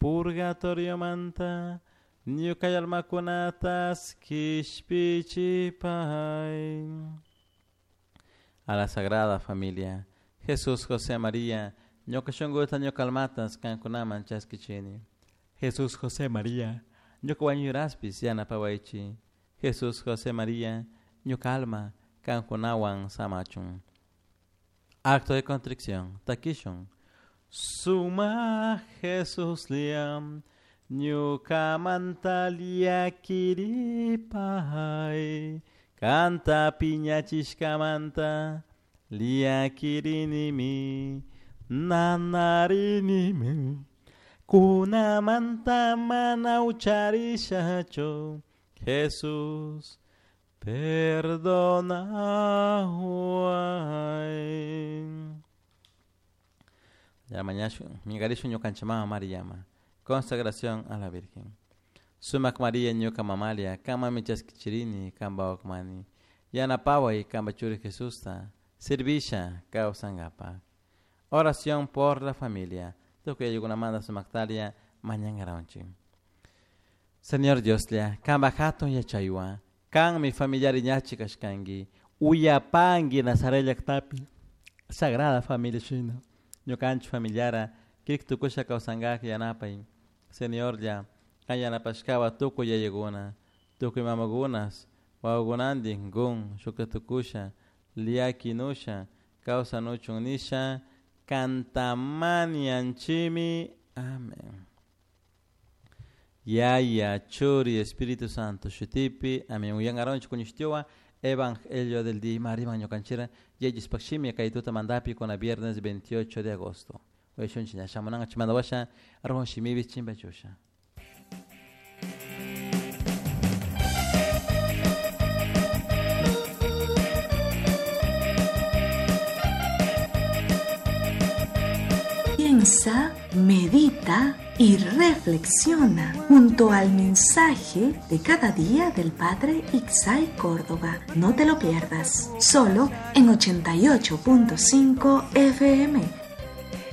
Purgatoriomanta ñuka almakunatas kishpichipay. A la Sagrada Familia, Jesús, José, María, ñuka shunkuta ñuka almatas kankunaman chaskichini. Jesús, José, María, ñuka wañuraspis yanapawaychi. Jesús, José, María, ñuka alma kankunawan samachun. Acto de contrición, takishun. Suma Jesús liam, ñukamanta llakiripay, kanta piñachishkamanta llakirinimi, nanarinimi, kunamanta mana ucharishachu, Jesús, perdonaway. Ya mañana mingarishun ñukanchik mama Mariyama. Consagración a la Virgen. Sumak María ñuka mamalia, kanmanmi chaskichirini, kanpa wakmani. Yanapaway kanpa churi Jesusta, servisha kawsankapaq. Oración por la familia. Tukuy ayllukunamanta sumaktalia mañankaranchik. Señor Dioslla, kanpa hatun yachaywan, kanmi familiari ñachi kashkanki, uyapanki Nazaret llaktapi, Sagrada Familia shina, ñukanchik familiara, kirik tukusha kawsankak yanapay. Señorlla, kan yanapashkawa tukuy yayakuna, tukuy mamakunas, wawakunantin kun shukta tukusha, llakinusha, kawsanuchun nisha, kantamanianchimi. Amén. Yaya, Churi, Espíritu Santo, shutipi, amén. Uyangaronchi kuñishtiwa, Evangelio del día, mariman ñukanchira, yayis pakshimi, kaytuta mandapi con viernes 28 de agosto. Uyashunchi ña shamunanga chimandawasha, arrojo shimibi chimbachusha. Piensa, medita y reflexiona junto al mensaje de cada día del Padre Ixay Córdoba. No te lo pierdas, solo en 88.5 FM.